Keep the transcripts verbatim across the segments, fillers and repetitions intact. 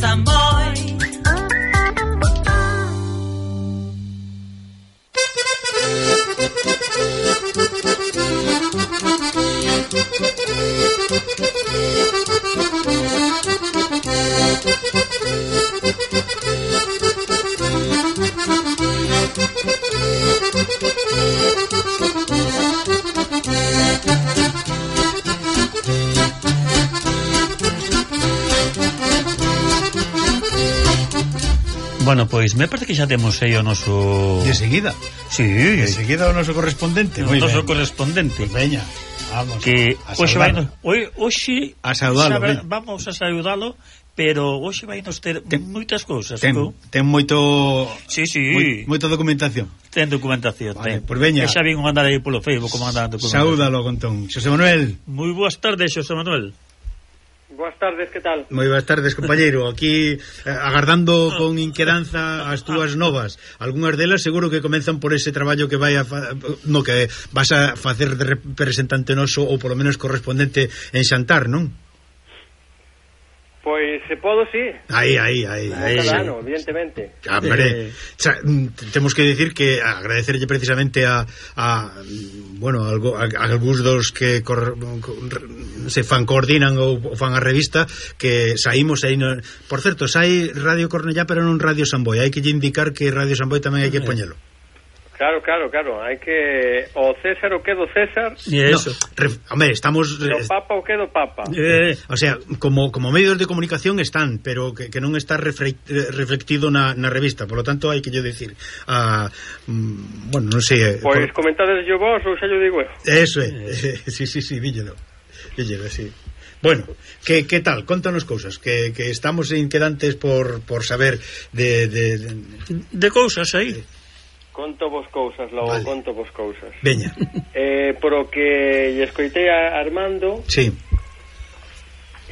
Samboy. Bueno, pois me parece que xa temos aí o noso... De seguida. Sí, de seguida o noso correspondente. O noso correspondente. Pues veña, vamos que a hoxe vai nos, hoxe a saudalo, sabe, vamos a saudalo, pero hoxe vai nos ter ten, moitas cousas. Ten, ten moito... Sí, sí. Moi, moita documentación. Ten documentación, vale, ten. Pues veña. E xa vin andar aí polo Facebook como andando documentación. Saúdalo, Contón. Xosé Manuel. Moi boas tardes, Xosé Manuel. Boas tardes, que tal? Moi boas tardes, compañeiro. Aquí eh, agardando con inquedanza as túas novas. Algúnas delas seguro que comenzan por ese traballo que vai a fa... no que vas a facer de representante noso ou polo menos correspondente en Xantar, non? Pois se podo, sí. Aí, aí, aí. aí cada ano, evidentemente. Hombre, eh. xa, temos que decir que agradecerlle precisamente a, a bueno, algo, a, a algúns dos que cor, se fan coordinan ou fan a revista que saímos aí no, por certo, sai Radio Cornellá pero non Radio Samboy, hai que lle indicar que Radio Samboy tamén hai que poñelo. Claro, claro, claro, hai que o César o que do César. E eso. No, ref, hombre, estamos o Papa o que do Papa. Eh, o sea, como como medios de comunicación están, pero que, que non está refle, reflectido na, na revista, por lo tanto hai que yo decir, a mm, bueno, non sei. Pois por... comentades yo vos ou xa yo digo eu. Eso é. Eh. sí, sí, sí, díllelo. Díllelo, sí. Bueno, que, que tal? Contanos cousas que, que estamos inquedantes por, por saber de de, de, de cousas aí. De... Conto vos cousas, logo vale. Conto vos cousas. Veña. Eh, por o que lle escoitei a Armando. Sí.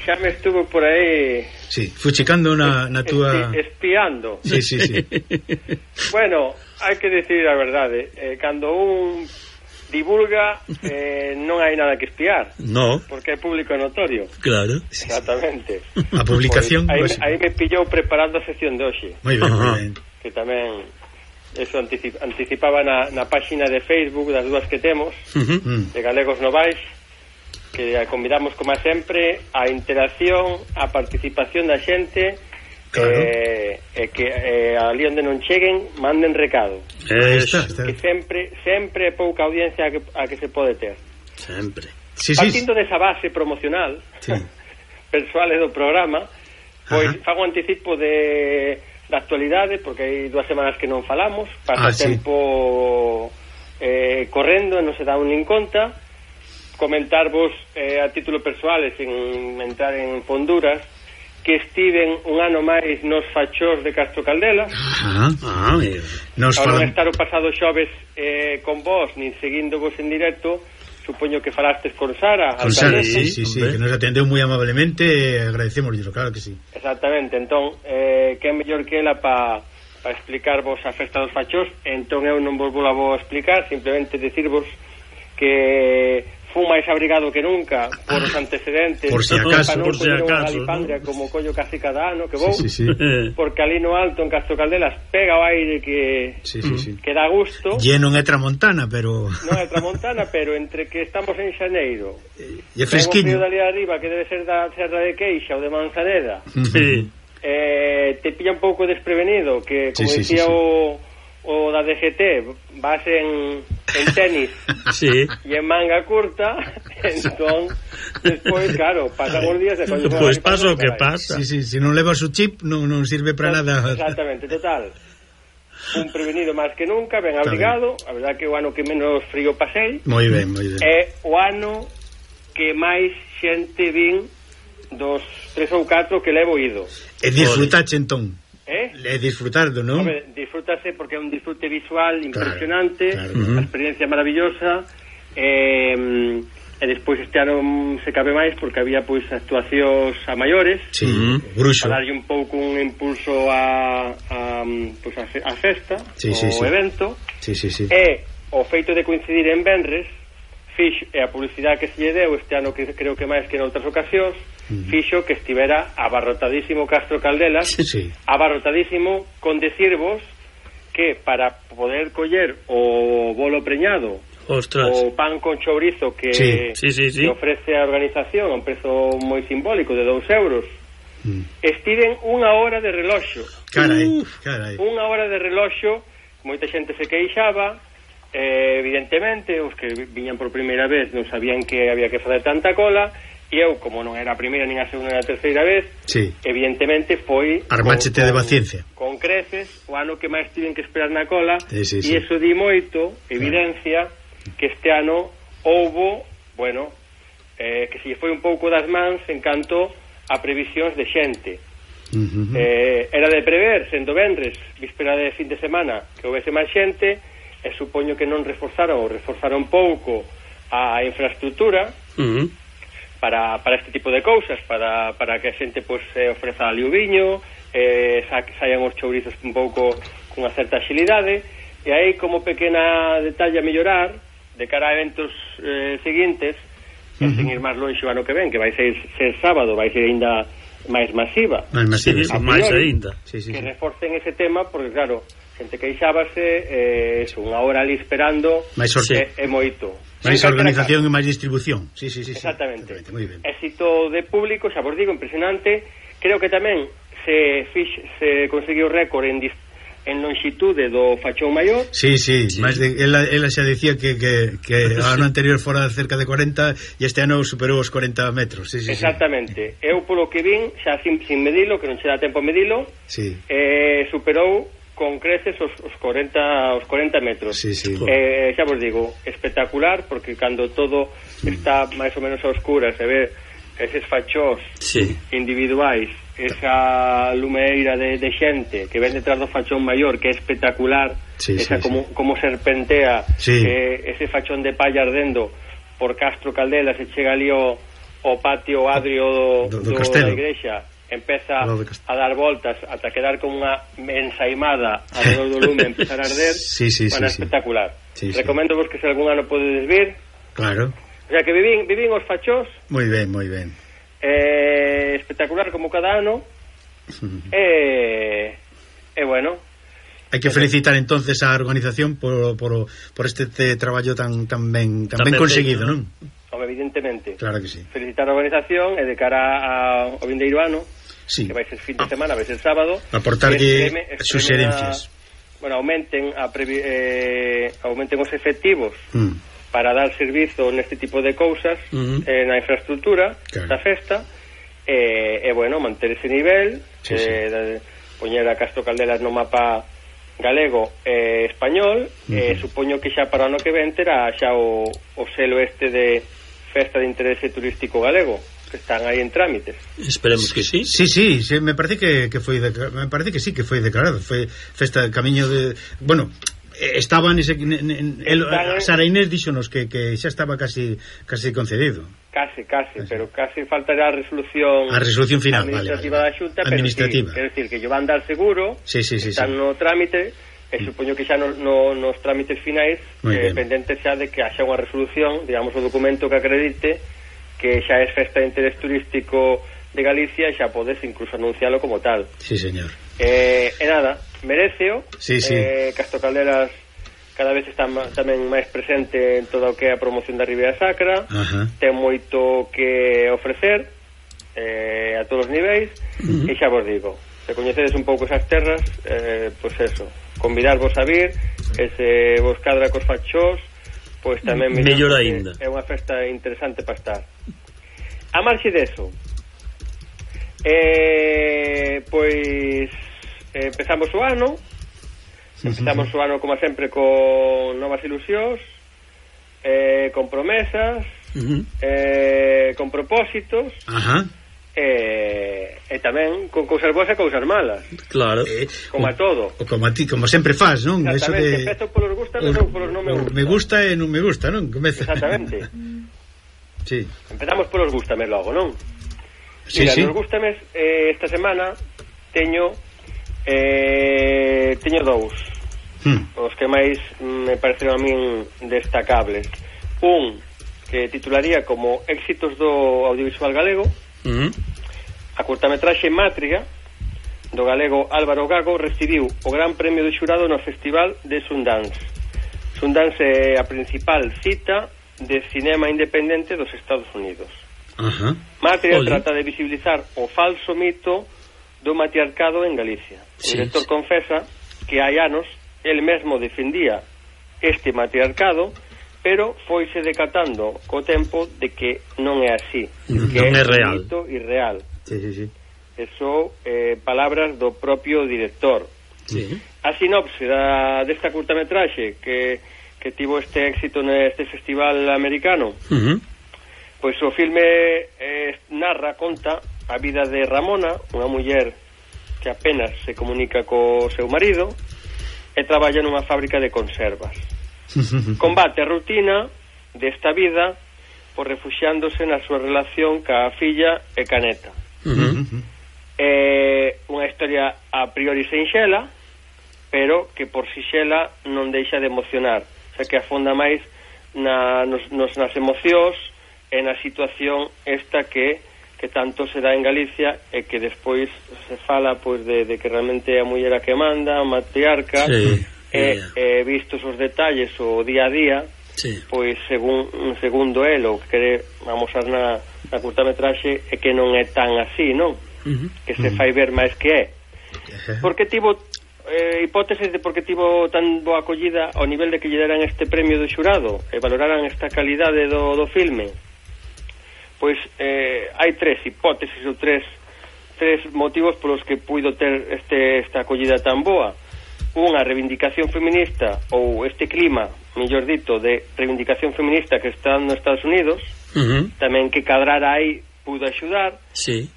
Xa me estuvo por aí. Sí, fuchicando na, na túa... Espiando. Sí, sí, sí. Bueno, hai que decir a verdade. Eh, cando un divulga, eh, non hai nada que espiar. No. Porque é público notorio. Claro. Exactamente. A publicación... Pues, aí, aí me pillou preparando a sección de hoxe. Moi ben, moi ben. Que tamén... Eso anticip, anticipaba na, na páxina de Facebook das dúas que temos, uh-huh. de Galegos Novais, que convidamos como sempre a interacción, a participación da xente, claro. eh, eh, que eh, ali onde non cheguen manden recado. Está, está. Que sempre sempre é pouca audiencia a que, a que se pode ter. Sempre. Sí, Partindo sí. desa base promocional, sí. persoal do programa, pois uh-huh. fago anticipo de... da actualidade, porque hai dúas semanas que non falamos, pasa ah, tempo sí. eh, correndo e non se dá un nin conta. Comentarvos eh, a título persoal e sin entrar en fonduras que estiven un ano máis nos fachós de Castro Caldelas. Ah, ah, nos falan... non estar o pasado xoves eh, con vos, nin seguindo vos en directo. Supoño que falastes con Sara. Con Sara, sí, sí, sí, que nos atendeu moi amablemente, agradecemos, claro que sí. Exactamente, entón, eh, que é mellor que ela para pa explicarvos a festa dos fachós, entón eu non vos vou a vos explicar, simplemente decirvos que fui máis abrigado que nunca por os antecedentes, por si acaso, por si acaso, Galipandria, ¿no? Como collo casi cada ano que vou, sí, sí, sí. Porque ali no alto en Castro Caldelas pega o aire que sí, sí, sí. que dá gusto. E non é tramontana, pero non é tramontana, pero entre que estamos en xaneiro e é fresquiño, o frío dali arriba que debe ser da Serra de Queixa ou de Manzaneda, sí. eh, te pilla un pouco desprevenido, que como sí, sí, decía sí, sí. o o da D G T, vas en, en tenis sí. e en manga curta, entón despois, claro, pasan os días e pois pues pasa o que pasa. Sí, sí, se non levas o chip non, non sirve para nada. Exactamente, total. Un prevenido máis que nunca, ben abrigado, a verdad que o ano que menos frío pasei. Moi ben, moi ben. É o ano que máis xente vin dos tres ou catro que levo ido. E disfrutache entón. Eh? E disfrutardo, non? Home, disfrútase porque é un disfrute visual impresionante, claro, claro. A experiencia maravillosa, eh, e despois este ano se cabe máis porque había pois actuacións a maiores, sí, bruxo, para darlle un pouco un impulso a, a, pois a, fe, a festa, sí, sí, o sí. evento, sí, sí, sí. E o feito de coincidir en venres fixo, e a publicidade que se lle deu este ano, que creo que máis que noutras ocasións, uh-huh. fixo que estivera abarrotadísimo Castro Caldelas, sí, sí. abarrotadísimo, con decirvos que para poder coller o bolo preñado, ostras, o pan con chourizo que, sí. Sí, sí, sí. que ofrece a organización a un prezo moi simbólico de dous euros, mm. estiven unha hora de reloxo. Carai, carai. Unha hora de reloxo, moita xente se queixaba, eh, evidentemente, os que viñan por primeira vez non sabían que había que fazer tanta cola, e eu, como non era a primeira, nin a segunda, nin a terceira vez, sí. evidentemente foi armáchete de paciencia con creces, o ano que máis tiven que esperar na cola, sí, sí, e sí. iso di moito, evidencia claro. que este ano houbo, bueno, eh, que se foi un pouco das mans en canto a previsións de xente. Uh-huh. eh, era de prever, sendo vendres, víspera de fin de semana, que houvese máis xente, e supoño que non reforzaron ou reforzaron pouco a infraestructura, uh-huh. para, para este tipo de cousas, para, para que a xente pues, eh, ofreza ali o viño, eh, sa, saian os chourizos un pouco cunha certa axilidade, e aí como pequena detalle a mellorar de cara a eventos eh, seguintes, uh-huh. e sen ir máis longe o ano que ven, que vai ser, ser sábado, vai ser ainda máis masiva, máis masiva, sí, máis ainda, sí, sí, que sí. reforcen ese tema, porque claro, xente queixábase, eh, eso, unha hora ali esperando, máis sorte, é, é moito. máis organización e máis distribución. Sí, sí, sí, exactamente. Sí, moi ben. Éxito de público, xa vos digo, impresionante. Creo que tamén se fix, se conseguiu récord en dis, en longitude do Fachón Maior. Sí, sí, sí. Máis de ela, ela xa decía que que que o ano anterior fora cerca de cuarenta e este ano superou os cuarenta metros. Sí, sí, exactamente. Sí. Eu polo que vin, xa sin, sin medilo, que non che dá tempo a medilo, sí. eh, superou con creces os, os cuarenta os cuarenta metros. Sí, sí. Eh, xa vos digo, espectacular, porque cando todo mm. está máis ou menos a oscuras, se ve eses fachós sí. individuais, esa lumeira de, de xente que ven detrás do fachón maior, que é espectacular, sí, esa sí, como, sí. como serpentea, sí. eh, ese fachón de palla ardendo por Castro Caldelas, se chega ali o, o patio adrio do, do, do, do da igrexa, empeza a dar voltas ata quedar como unha ensaimada alrededor do lume, empezar a arder, sí, sí, bueno, sí, espectacular. Sí, sí. Recomendo vos que se algún ano podedes vir. Claro. O sea que vivín, vivín os fachós. Moi ben, moi ben. Eh, espectacular como cada ano. E eh, eh, bueno, hai que felicitar entonces a organización por, por, por este te, traballo tan tan ben tan, tan ben conseguido, non? Evidentemente. Claro que sí. Felicitar a organización e de cara ao vindeiro ano, sí. que vai ser fin de semana, vai ser sábado, aportarlle suxerencias. Bueno, aumenten a previ, eh, aumenten os efectivos mm. para dar servizo neste tipo de cousas mm-hmm. eh, na infraestructura claro. da festa e, eh, eh, bueno, manter ese nivel sí, eh, sí. De, poñer a Castro Caldelas no mapa galego e eh, español mm-hmm. eh, supoño que xa para o ano que ven terá xa o, o selo este de festa de interese turístico galego que están aí en trámites. Esperemos que sí. Sí, sí, sí me parece que, que foi me parece que sí que foi declarado, foi festa camiño de, bueno, estaba nese en, el, Sara Inés díxonos que, que xa estaba casi casi concedido. Casi, casi, casi. Pero casi faltará a resolución a resolución final, administrativa vale, vale. da Xunta, administrativa. Pero sí, quero decir que lle van dar seguro, sí, sí, sí, están sí. no trámite. E supoño que xa no, no, nos trámites finais eh, pendente xa de que haxa unha resolución, digamos, o documento que acredite que xa é festa de interés turístico de Galicia e xa podes incluso anuncialo como tal. Sí, señor. Eh, e nada, mereceo. Sí, sí. Eh, Castro Caldelas cada vez está tamén máis presente en todo o que é a promoción da Ribeira Sacra. Ajá. Ten moito que ofrecer eh, a todos os niveis. Uh-huh. E xa vos digo, se coñecedes un pouco esas terras, eh, pois pues eso, convidarvos a vir, que se vos cadra cos fachós, pois tamén mellor aínda. É unha festa interesante para estar. A marxe deso, eh, pois eh, empezamos o ano, empezamos o ano como sempre con novas ilusións, eh, con promesas, uh-huh. eh, con propósitos. Ajá. E, e tamén con cousas boas e cousas malas. Claro. Eh, como a todo. O como a ti, como sempre faz, non? Exactamente, eso de... empezo polos gusta, ou polos non me gusta. Me gusta e non me gusta, non? Comeza. Exactamente. Sí. Empezamos polos gustames logo, non? Sí, Mira, sí. nos gustames eh, esta semana teño eh, teño dous. Hmm. Os que máis me pareceron a min destacables. Un que titularía como Éxitos do audiovisual galego. Uh-huh. A curtametraxe Matria do galego Álvaro Gago recibiu o gran premio do xurado no Festival de Sundance. Sundance é a principal cita de cinema independente dos Estados Unidos. Uh-huh. Matria Oli. trata de visibilizar o falso mito do matriarcado en Galicia. Sí, o director sí. confesa que hai anos el mesmo defendía este matriarcado, pero foise decatando co tempo de que non é así, mm, que non é é real. un mito irreal. Sí, sí, sí. Eso, eh, palabras do propio director. Sí. A sinopse da, desta curtametraxe que, que tivo este éxito neste festival americano, uh-huh. pois o filme eh, narra, conta a vida de Ramona, unha muller que apenas se comunica co seu marido e traballa nunha fábrica de conservas. Combate a rutina desta vida por refuxiándose na súa relación ca filla e ca neta. Uh-huh. É unha historia a priori sinxela, pero que por sinxela non deixa de emocionar, xa que afonda máis na, nos, nos, nas emocións e na situación esta que que tanto se dá en Galicia e que despois se fala pois de, de que realmente é a muller a que manda, a matriarca, sí, e, e vistos os detalles o día a día, sí. pois según, segundo el o que quere amosar na, na curtametraxe é que non é tan así, non? Uh-huh. Que se fai ver máis que é. Porque tivo eh, hipótesis de por que tivo tan boa acollida ao nivel de que lle deran este premio do xurado e valoraran esta calidade do, do filme. Pois eh, hai tres hipótesis ou tres tres motivos polos que puido ter este esta acollida tan boa. Unha, reivindicación feminista, ou este clima, mellor dito, de reivindicación feminista que está nos Estados Unidos, uh-huh. tamén que cadrara aí pudo axudar. Sí.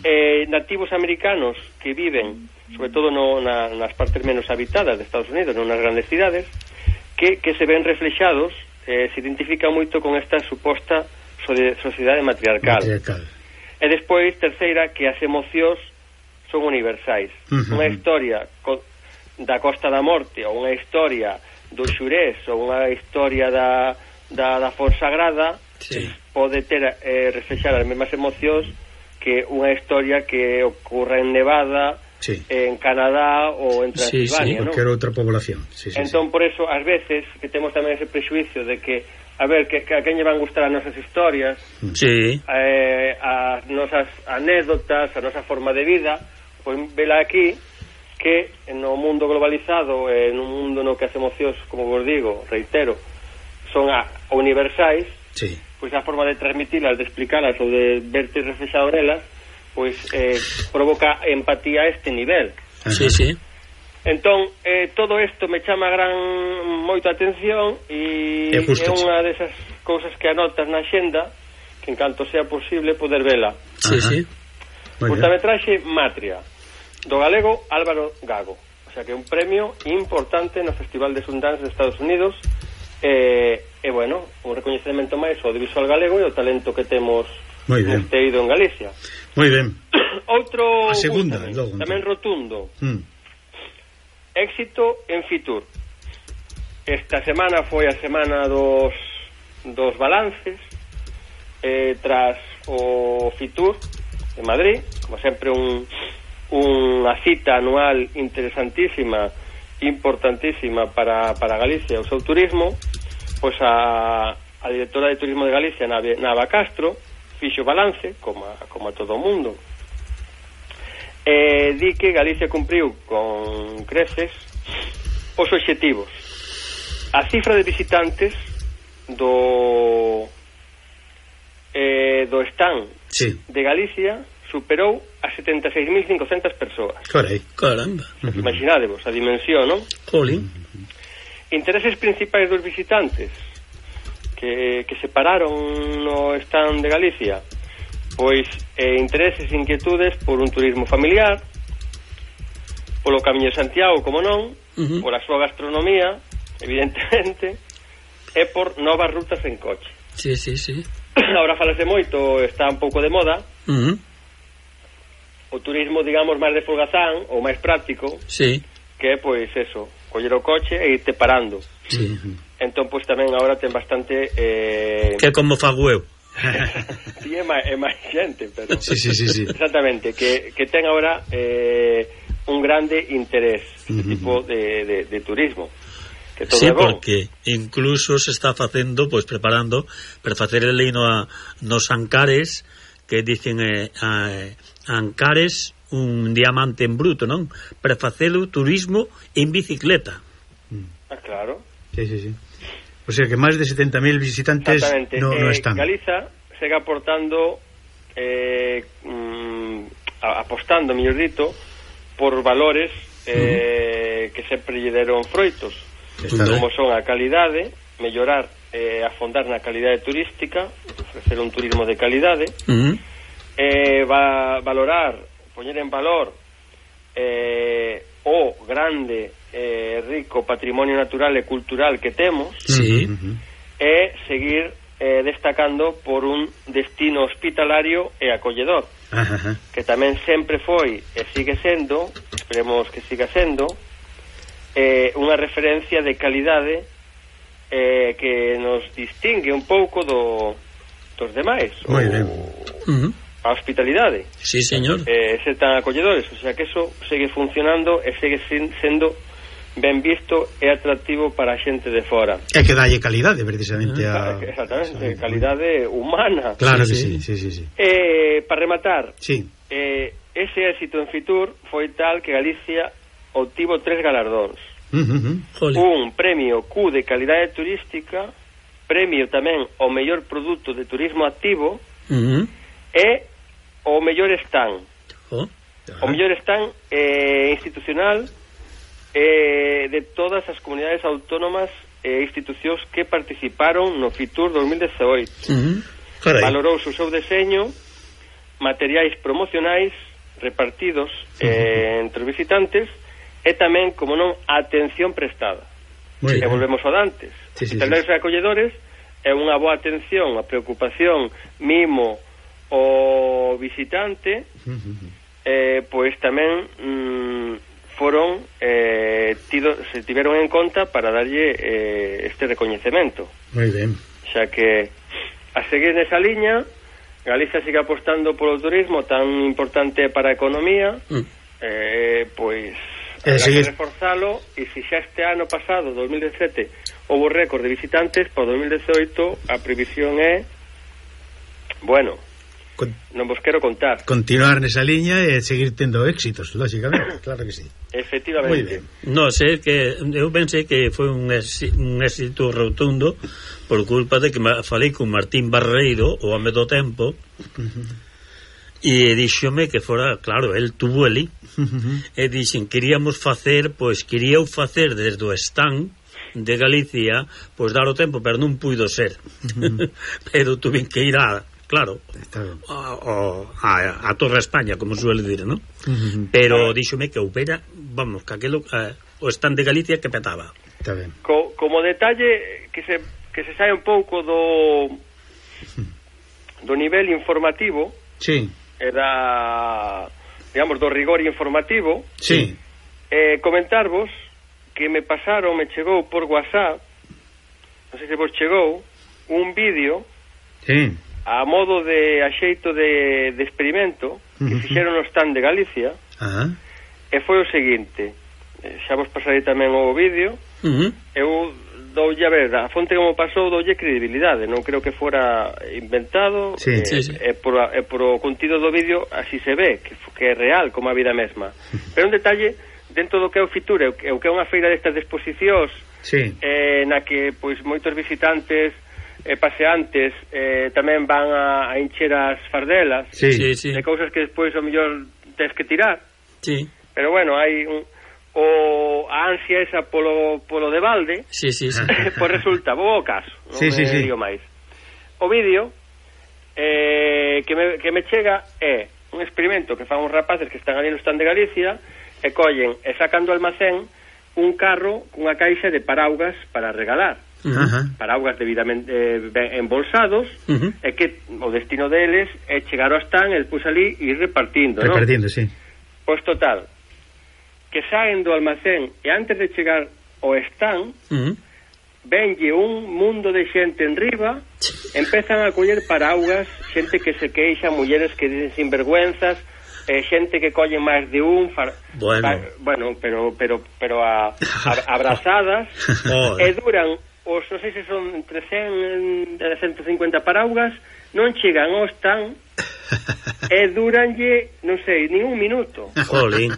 eh, nativos americanos que viven sobre todo no, na, nas partes menos habitadas de Estados Unidos, non nas grandes cidades, que, que se ven reflexados, eh, se identifica moito con esta suposta sociedade matriarcal. matriarcal. E despois, terceira, que as emocións son universais. Uh-huh. Unha historia co, da Costa da Morte, ou unha historia do Xurés, ou unha historia da, da, da Fonsagrada, sí. pode ter eh, reflexar as mesmas emocións que unha historia que ocorre en Nevada, sí. en Canadá ou en Transilvania, sí, sí, non? Cualquier outra población. Sí, sí, entón, sí. por eso, ás veces, que temos tamén ese prexuicio de que a ver, que, que a quen lle van gustar as nosas historias, sí. eh, as nosas anécdotas, a nosa forma de vida, pois vela aquí que no mundo globalizado, en un mundo no que as emocións, como vos digo, reitero, son a, universais, sí. pois a forma de transmitilas, de explicalas ou de verte reflexado nelas, pois eh, provoca empatía a este nivel. Sí, sí. Entón, eh, todo isto me chama gran moita atención e é unha desas cousas que anotas na xenda que en canto sea posible poder vela. Sí, sí. Curtametraxe Matria do galego Álvaro Gago, o sea que é un premio importante no Festival de Sundance de Estados Unidos e, e bueno, un recoñecemento máis ao audiovisual galego e o talento que temos neste eido en Galicia. Moi ben. Outro a segunda, logo, tamén rotundo. Mm. Éxito en Fitur. Esta semana foi a semana dos dos balances eh, tras o Fitur de Madrid, como sempre un unha cita anual interesantísima, importantísima para, para Galicia e o seu turismo. Pois a, a directora de Turismo de Galicia, Nava Castro, fixo balance, como a, como a todo o mundo. Eh, di que Galicia cumpriu con creces os obxectivos. A cifra de visitantes do eh, do stand sí. de Galicia superou a setenta e seis mil cincocentas persoas. Carai. Caramba. Imaginadevos a dimensión, non? Jolín. Intereses principais dos visitantes que, que se pararon no stand de Galicia, pois eh, intereses e inquietudes por un turismo familiar, polo Camiño de Santiago, como non, uh-huh. por a súa gastronomía, evidentemente, e por novas rutas en coche. Sí, sí, sí. Ahora falase moito, está un pouco de moda, uh-huh. o turismo, digamos, máis de folgazán, ou máis práctico, sí. que é, pois, eso, coller o coche e irte parando. Sí. entón pois tamén agora ten bastante eh... que como fago eu. Sí, é máis, é máis xente, pero sí, sí, sí, sí. exactamente, que, que ten agora eh, un grande interés este uh-huh. tipo de, de, de turismo. Que todo sí, é bon. Porque incluso se está facendo, pois preparando para facer el leino a, nos Ancares, que dicen eh, a, Ancares un diamante en bruto, non? Para facer o turismo en bicicleta. Ah, claro. Sí, sí, sí. O sea que máis de setenta mil visitantes no, no están. Eh, Galiza segue aportando eh, mm, apostando, mellor dito, por valores eh, uh-huh. que sempre lle deron froitos, como son a calidade, mellorar, eh, afondar na calidade turística, ofrecer un turismo de calidade, uh-huh. eh, va, valorar, poñer en valor eh, o grande eh, rico patrimonio natural e cultural que temos, sí. uh-huh. e seguir eh, destacando por un destino hospitalario e acolledor, uh-huh. que tamén sempre foi e sigue sendo, esperemos que siga sendo, eh, unha referencia de calidade eh, que nos distingue un pouco do, dos demais. Moi ben. Uh-huh. A hospitalidade. Sí, señor. Eh, ser tan acolledores, o sea que eso segue funcionando e segue sendo ben visto e atractivo para a xente de fora. É que dalle calidade precisamente a... Exactamente, calidade humana. Claro que sí, sí, sí, sí. Eh, para rematar, sí. eh, ese éxito en Fitur foi tal que Galicia obtivo tres galardóns. Uh-huh. Un premio Q de calidade turística, premio tamén ao mellor produto de turismo activo, uh-huh. e o mellor stand. Oh. O mellor stand eh, institucional eh, de todas as comunidades autónomas e institucións que participaron no Fitur dos mil dezaoito. Uh-huh. Valorouse o seu deseño, materiais promocionais repartidos eh, uh-huh. entre os visitantes e tamén, como non, a atención prestada. Muy e bien. volvemos ao dantes. Sí, sí, Hospitaleros sí. e acolledores é unha boa atención, a preocupación, mimo o visitante, uh-huh. eh, pois tamén mm, foron eh, tido, se tiveron en conta para darlle eh, este recoñecemento. Moi ben. Xa que a seguir nesa liña, Galicia sigue apostando polo turismo tan importante para a economía, mm. eh, pois eh, hai seguir... que reforzalo, e se xa este ano pasado, dos mil dezasete, houve récord de visitantes, para dos mil dezaoito a previsión é, bueno, Con... non vos quero contar. Continuar nesa liña e seguir tendo éxitos, lógicamente, claro que sí. Efectivamente. No, sei que eu pensei que foi un, éxito, un éxito rotundo por culpa de que falei con Martín Barreiro, o home do tempo, uh-huh. e díxome que fora, claro, el tuvo ali, uh-huh. e dixen, queríamos facer, pois queríau facer desde o stand de Galicia, pois dar o tempo, pero non puido ser. Uh-huh. Pero tuve que ir a claro, a, a, a Torre España, como suele dir, ¿no? Uh-huh. Pero díxome que houbera, vamos, que aquelo, uh, o stand de Galicia que petaba. Está ben. Co, como detalle que se, que se sae un pouco do do nivel informativo, sí. era, digamos, do rigor informativo, sí. eh, comentarvos que me pasaron, me chegou por WhatsApp, non sei se vos chegou, un vídeo, sí. a modo de axeito de, de experimento que uh-huh. fixeron no stand de Galicia, uh-huh. e foi o seguinte, xa vos pasarei tamén o vídeo, uh-huh. eu doulle a ver, a fonte como pasou doulle credibilidade, non creo que fora inventado, sí, e, sí, sí. e, por, e por o contido do vídeo así se ve, que, que é real como a vida mesma. Pero un detalle, dentro do que é o Fitur, o que é unha feira destas de exposicións, sí. eh, na que pois moitos visitantes e paseantes eh, tamén van a, a encher as fardelas, sí. Sí, sí. de cousas que despois o mellor tens que tirar, sí. pero bueno, hai un, o a ansia esa polo, polo de balde, sí, sí, sí. pois resulta, vou ao caso, non sí, me sí, sí. digo máis. O vídeo eh, que, me, que me chega é un experimento que fan uns rapaces que están ali no stand de Galicia e collen e sacan do almacén un carro cunha caixa de paraugas para regalar. Uh-huh. Paraugas debidamente eh, embolsados, uh-huh. e que o destino deles é chegar ao stand e despois ali ir repartindo, repartindo, ¿no? sí. Pois total, que saen do almacén e antes de chegar ao stand, uh-huh. venlle un mundo de xente en riba, empezan a coller paraugas, xente que se queixa, mulleres que dicen sinvergüenzas, eh, xente que colle máis de un, far, bueno. fa, bueno, pero pero pero a, a, abrazadas, e duran os, non sei se son entre cen e ciento cincuenta paraugas, non chegan ao stand, e duranlle, non sei, nin un minuto. Jolín.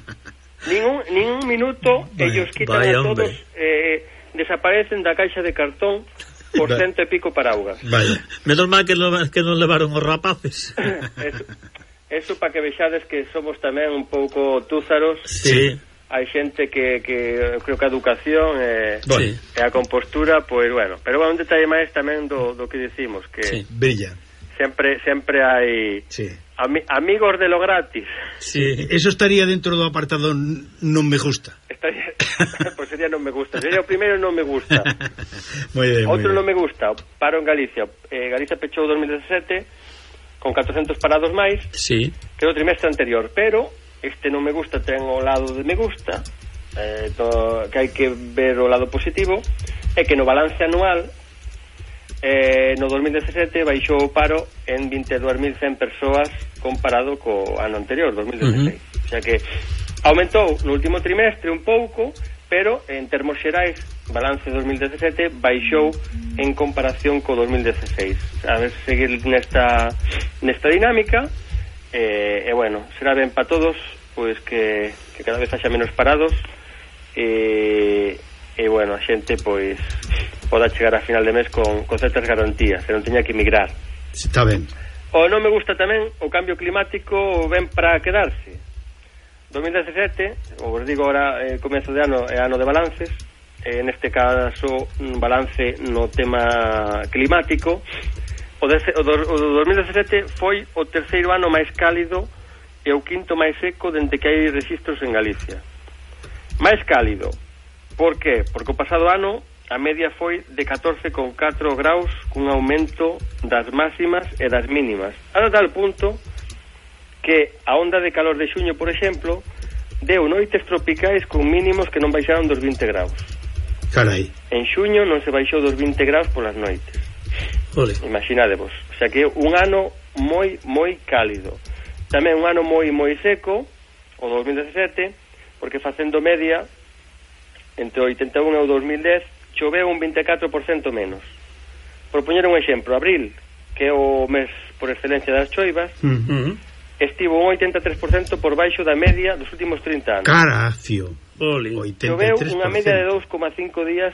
Nin un, nin un minuto, vaya, ellos quitan a todos, eh, desaparecen da caixa de cartón por cento e pico paraugas. Vaya. Menos mal que, lo, que non levaron os rapaces. Eso, eso para que vexades que somos tamén un pouco túzaros. Sí. Hai xente que, que creo que a educación e, sí. e a compostura, pois bueno, pero bueno, un detalle máis tamén do, do que dicimos, que sí. Brilla. Sempre sempre hai sí. ami, amigos de lo gratis. Sí. Eso estaría dentro do apartado non me gusta. Estaría, pues sería non me gusta. Sería o primeiro non me gusta. Moi ben, outro moi non me gusta, paro en Galicia. Eh, Galicia pechou dos mil dezasete con catrocentos parados máis sí. que o trimestre anterior, pero este non me gusta ten o lado de me gusta, eh, to, que hai que ver o lado positivo, é que no balance anual eh, no dos mil dezasete baixou o paro en vinte e dúas mil cen persoas comparado co ano anterior, dos mil dezasseis. Uh-huh. O sea que aumentou no último trimestre un pouco, pero en termos xerais, balance dos mil dezasete baixou en comparación co dos mil dezasseis. A ver, seguir nesta nesta dinámica. E, e bueno, será ben para todos, pois que, que cada vez haxa menos parados e, e bueno, a xente pois poda chegar a final de mes con, con certas garantías, que non teña que emigrar. Está ben. O non me gusta tamén o cambio climático, ben para quedarse. dos mil dezasete, ou vos digo ahora, eh, comezo de ano é ano de balances, eh, neste caso un balance no tema climático. O, de, o, do, o do dos mil dezasete foi o terceiro ano máis cálido e o quinto máis seco dende que hai registros en Galicia. Máis cálido, por qué? Porque o pasado ano a media foi de catorce coma catro graus cun aumento das máximas e das mínimas, a tal punto que a onda de calor de xuño, por exemplo, deu noites tropicais con mínimos que non baixaron dos vinte graus. Carai. En xuño non se baixou dos vinte graus polas noites. Ole. Imaginadevos, o sea que un ano moi, moi cálido. Tamén un ano moi, moi seco, o dos mil dezasete, porque facendo media, entre o oitenta e un e o dos mil dez, choveu un vinte e catro por cento menos. Por poñer un exemplo, abril, que é o mes por excelencia das choivas, uh-huh. estivo un oitenta e tres por cento por baixo da media dos últimos trinta anos. Carafio. Ole. Choveu unha media de dous coma cinco días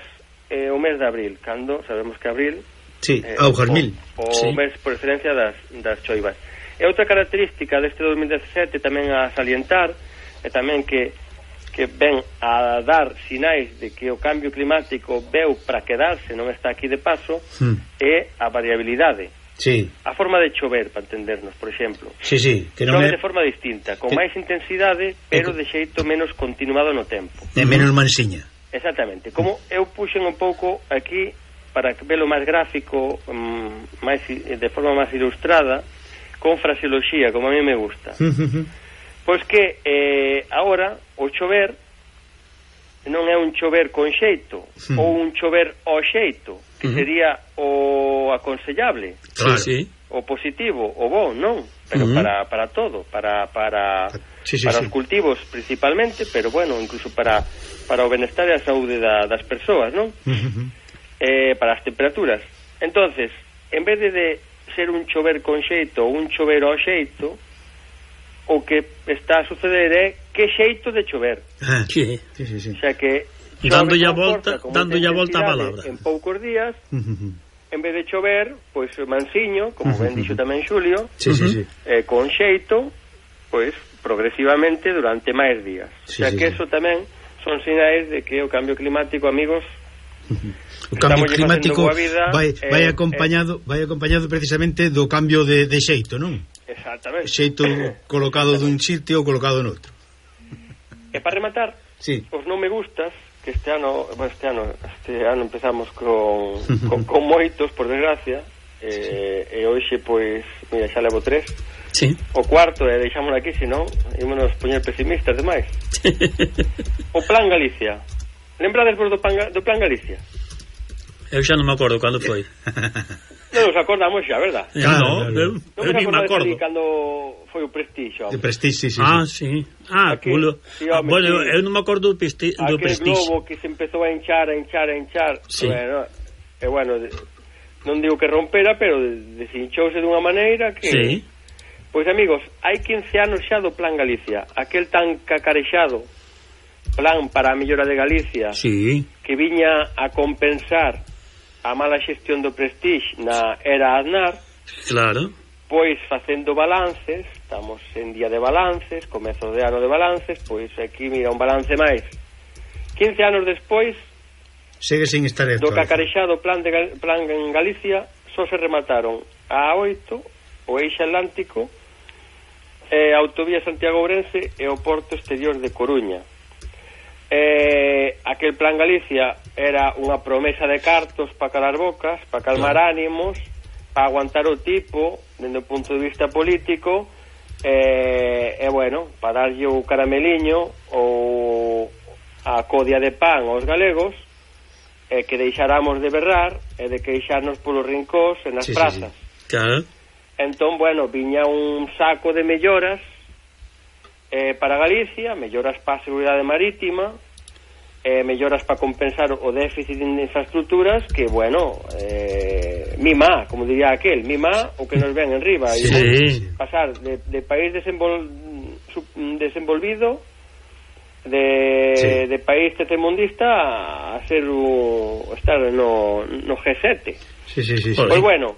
eh, o mes de abril, cando sabemos que abril sí, eh, augas mil. O, o sí. mes por excelencia das, das choivas. E outra característica deste dos mil dezasete tamén a salientar é tamén que que ven a dar sinais de que o cambio climático veu para quedarse, non está aquí de paso, hmm. é a variabilidade. Sí. A forma de chover, para entendernos, por exemplo. Sí, sí, que non chove é... de forma distinta, con que... máis intensidade, pero de xeito menos continuado no tempo. É menos mansiña. Exactamente. Como eu puxen un pouco aquí para velo máis gráfico, um, máis, de forma máis ilustrada, con fraseoloxía, como a mí me gusta. Pois que eh, agora o chover non é un chover con xeito, mm. ou un chover ao xeito, que mm. sería o aconsellable, claro. Sí, sí. O positivo, o bo, non, pero mm. para, para todo, para, para, sí, sí, para sí. os cultivos principalmente, pero bueno, incluso para, para o benestar e a saúde da, das persoas, non? Mm-hmm. Eh, para as temperaturas. Entonces, en vez de, de ser un chover con xeito ou un chover ao xeito, o que está a suceder é que xeito de chover. Ah, sí, sí, sí, sí. O sea que dándolle a volta, dándolle a volta a palabra. En poucos días, uh-huh. en vez de chover, pois pues, mansiño, como uh-huh. ben dixo tamén Xulio, sí, uh-huh. sí, sí. Eh, con xeito, pois pues, progresivamente durante máis días. Sí, o sea sí, que sí. Eso tamén son sinais de que o cambio climático, amigos, uh-huh. o cambio climático vida, vai, vai eh, acompañado, eh, vai acompañado precisamente do cambio de, de xeito, non? Exactamente. Xeito colocado dun sitio ou colocado noutro. E para rematar, sí. os non me gustas, que este ano, bueno, este ano, este ano empezamos con, con, con moitos, por desgracia, e, sí. e hoxe, pois, mira, xa levo tres. Sí. O cuarto, e deixámoslo aquí, senón, ímonos poñer pesimistas demais. O Plan Galicia. Lembrades vos do, do Plan Galicia? Eu xa non me acordo cando foi. Non nos acordamos xa, verdad? Claro, no, eu, non eu, eu me me acordo. cando foi o Prestige, De Prestige, sí, sí. Ah, sí. Ah, Aquel, culo. sí, Ah, home, bueno, sí. eu non me acordo do, pisti, do Aquel Prestige. globo que se empezou a hinchar, a hinchar, a hinchar. Sí. Bueno, e bueno, de, non digo que rompera, pero deshinchouse dunha maneira que... Sí. Pois, amigos, hai quince anos xa do Plan Galicia. Aquel tan cacarexado plan para a mellora de Galicia, Sí. que viña a compensar a mala xestión do Prestige na era Aznar. Claro. Pois, facendo balances, estamos en día de balances, comezo de ano de balances, pois aquí mira un balance máis. quince anos despois, segue sin estar do cacarexado plan, de, plan en Galicia, só se remataron a oito, o Eixo Atlántico, eh, a autovía Santiago-Ourense e o porto exterior de Coruña. Eh, aquel plan Galicia era unha promesa de cartos para calar bocas, para calmar claro. ánimos, para aguantar o tipo dende o punto de vista político, e eh, eh, bueno, para darlle o carameliño ou a codia de pan aos galegos, e eh, que deixáramos de berrar e de queixarnos polos rincós e nas sí, prazas. Sí, sí. Claro. Entón, bueno, viña un saco de melloras eh, para Galicia, melloras para a seguridade marítima, eh, melloras para compensar o déficit de infraestructuras, que, bueno, eh, mima, como diría aquel, mima o que nos ven en riba. Sí. E pasar de, de país desenvol, desenvolvido, de, sí. de país tercermundista, a ser o, estar no, no G sete. Sí, sí, sí, sí. Pois bueno,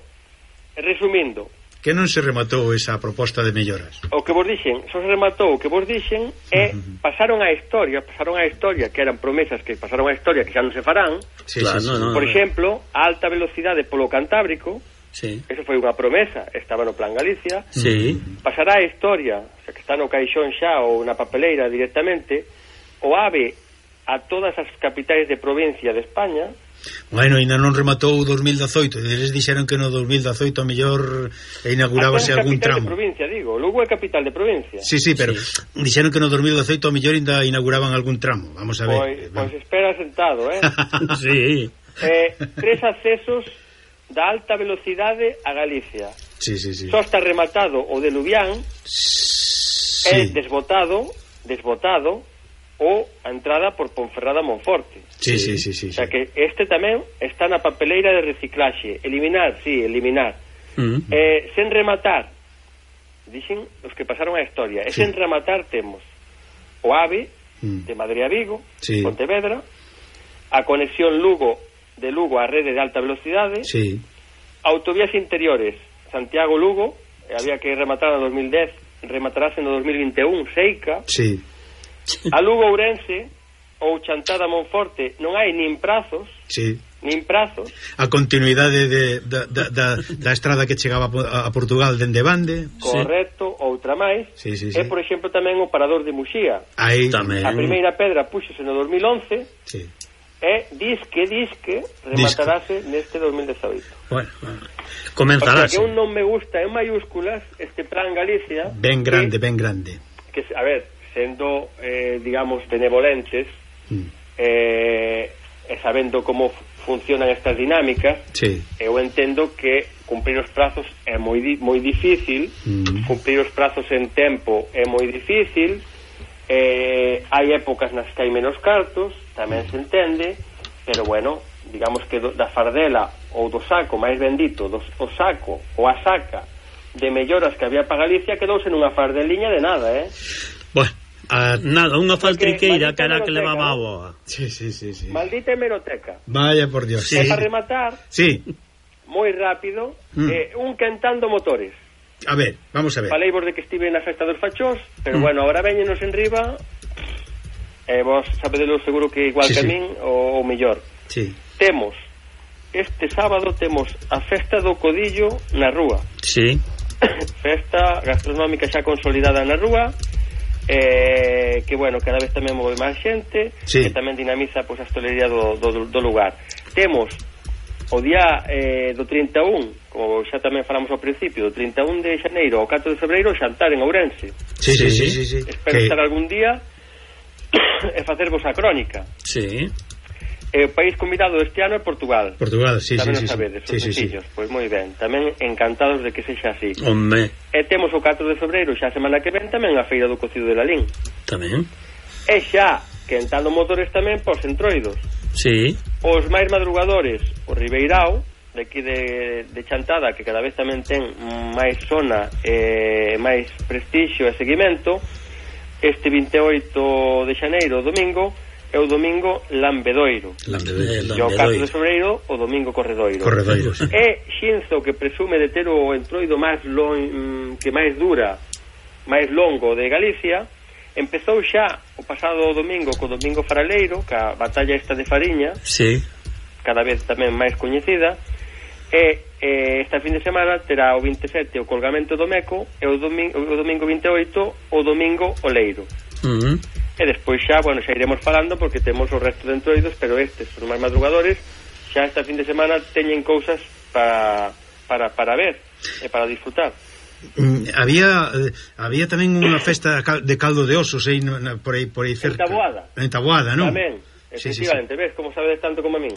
resumindo, que non se rematou esa proposta de melloras. O que vos dixen, só se rematou o que vos dixen e uh-huh. pasaron a historia, pasaron a historia que eran promesas que pasaron a historia que xa non se farán. Sí, claro, sí, sí. No, no, Por no. exemplo, a alta velocidade polo Cantábrico. Sí. Eso foi unha promesa, estaba no Plan Galicia. Sí. Pasará a historia, o sea, que está no caixón xa ou na papeleira directamente, o AVE a todas as capitais de provincia de España. Bueno, ainda non rematou o dos mil dezoito. Eles dixeron que no dos mil dezoito a mellor inaugurábase algún tramo. Capital de provincia, digo. Lugo é capital de provincia. Sí, sí, pero sí. Dixeron que no dos mil dezoito a mellor ainda inauguraban algún tramo. Vamos a ver. Pois, pois espera sentado, eh? Sí. eh tres accesos da alta velocidade a Galicia. Sí, sí, sí. Só está rematado o de Lubián, sí. É desbotado, desbotado ou a entrada por Ponferrada a Monforte. Sí, sí, sí, sí, o sea sí. que este tamén está na papeleira de reciclaxe. Eliminar, sí, eliminar. Uh-huh. Eh, sen rematar, dixen os que pasaron a historia, e sí. sen rematar temos o AVE uh-huh. de Madrid a Vigo, sí. Pontevedra, a conexión Lugo de Lugo á rede de alta velocidade, sí. autovías interiores Santiago-Lugo, había que rematar no dos mil dez, rematarase no dos mil vinte e un, Seica. Sí. A Lugo-Ourense ou Chantada-Monforte non hai nin prazos, sí. nin prazos. A continuidade de, da, da, da, da estrada que chegaba a Portugal dende Bande. Correcto, sí. Outra máis. Sí, sí, sí. E, por exemplo, tamén o Parador de Muxía. Aí tamén. A primeira pedra púxose no dos mil once. Sí. E disque, disque, rematarase disque. Neste dos mil dezoito. Bueno, comenzarase. O sea, que un non me gusta en mayúsculas este Plan Galicia. Ben grande, que, ben grande. Que, a ver, sendo, eh, digamos, benevolentes, mm. eh, e sabendo como funcionan estas dinámicas, sí. eu entendo que cumprir os prazos é moi, di, moi difícil, mm. cumprir os prazos en tempo é moi difícil, eh, hai épocas nas que hai menos cartos, tamén se entende, pero bueno, digamos que do, da fardela ou do saco máis bendito, do, o saco ou a saca de melloras que había para Galicia quedouse nunha fardeliña de nada, eh? Bueno, a, nada, unha faltriqueira que era que levaba a boa. Sí, sí, sí, sí. Maldita hemeroteca. Vaya por Dios. Sí. E para rematar, sí. moi rápido, mm. eh, un quentando motores. A ver, vamos a ver. Falei vos de que estive na festa dos fachós, pero mm. bueno, ahora veñenos en riba, e eh, vos sabedelo seguro que igual sí, que a min, sí. o, o mellor. Sí. Temos, este sábado temos a festa do Codillo na rúa. Sí. Festa gastronómica xa consolidada na rúa, eh, que bueno, cada vez tamén move máis xente, sí. que tamén dinamiza pois, a hostelería do, do, do lugar. Temos o día eh, do trinta e un, como xa tamén falamos ao principio, do trinta e un de xaneiro ao catro de febreiro, xantar en Ourense. Sí, sí, sí, sí, sí. Espero que... estar algún día e facervos a crónica. Sí. E o país convidado este ano é Portugal. Portugal, sí, tamén sí, o sí, sabedes, sí, os sí, sencillos. Sí. Pois moi ben, tamén encantados de que sexa así. Home. E temos o catro de febreiro, xa a semana que ven, tamén a Feira do Cocido de Lalín. Tamén. E xa, quentando motores tamén pos entroidos. Sí. Os máis madrugadores, o Ribeirao, de aquí de, de Chantada, que cada vez tamén ten máis zona e máis prestixio e seguimento, este vinte e oito de xaneiro, o domingo, e o domingo Lambedoiro. Lambedoiro. E o catro de febreiro, o domingo Corredoiro. Corredoiro, sí. E Xinzo, que presume de ter o entroido máis long, que máis dura, máis longo de Galicia, empezou xa o pasado domingo co domingo faraleiro, ca batalla esta de Fariña, sí, cada vez tamén máis coñecida, e, e esta fin de semana terá o vinte e sete o colgamento do Meco, e o domingo, o domingo vinte e oito o domingo o Leiro. Uh -huh. E despois xa, bueno, xa iremos falando porque temos o resto de entroidos, pero estes son máis madrugadores, xa esta fin de semana teñen cousas para, para, para ver e para disfrutar. Mm, había eh, había tamén unha festa de caldo de osos aí, no, na, por aí por aí cerca. En Taboada. En Taboada, non? Tamén, efectivamente, sí, sí, sí. Ves como sabedes tanto como a min.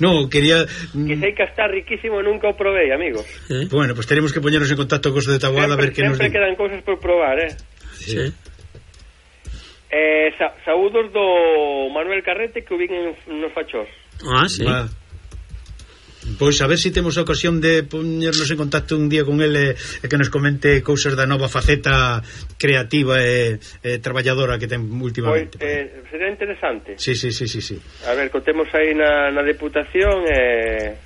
No, quería que sei que está riquísimo, nunca o probei, amigos. ¿Eh? Bueno, pues tenemos que poñernos en contacto cos de Taboada sempre, a ver que nos sempre quedan cousas por probar, eh. Sí. sí. Eh, sa saúdos do Manuel Carrete, que o vin en, nos Fachós. Ah, sí. Ah. Pois a ver se si temos a ocasión de poñernos en contacto un día con ele e que nos comente cousas da nova faceta creativa e, e traballadora que ten últimamente. Pois, eh, sería interesante. Sí, sí, sí, sí, sí. A ver, contemos aí na, na Deputación e,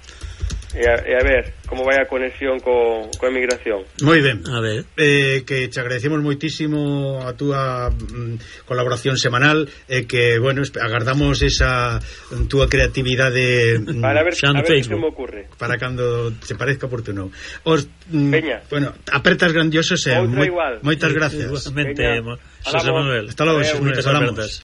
e, a, e a ver como vai a conexión co, co emigración. Moi ben. A ver. Eh, que te agradecemos moitísimo a túa mm, colaboración semanal e que, bueno, agardamos esa túa creatividade mm, para ver, a ver que se me ocurre. Para cando se parezca oportuno. Os, mm, Peña. Bueno, apertas grandiosos e moi, moitas gracias. Igualmente, Xosé Manuel. Hasta logo, Moitas apertas.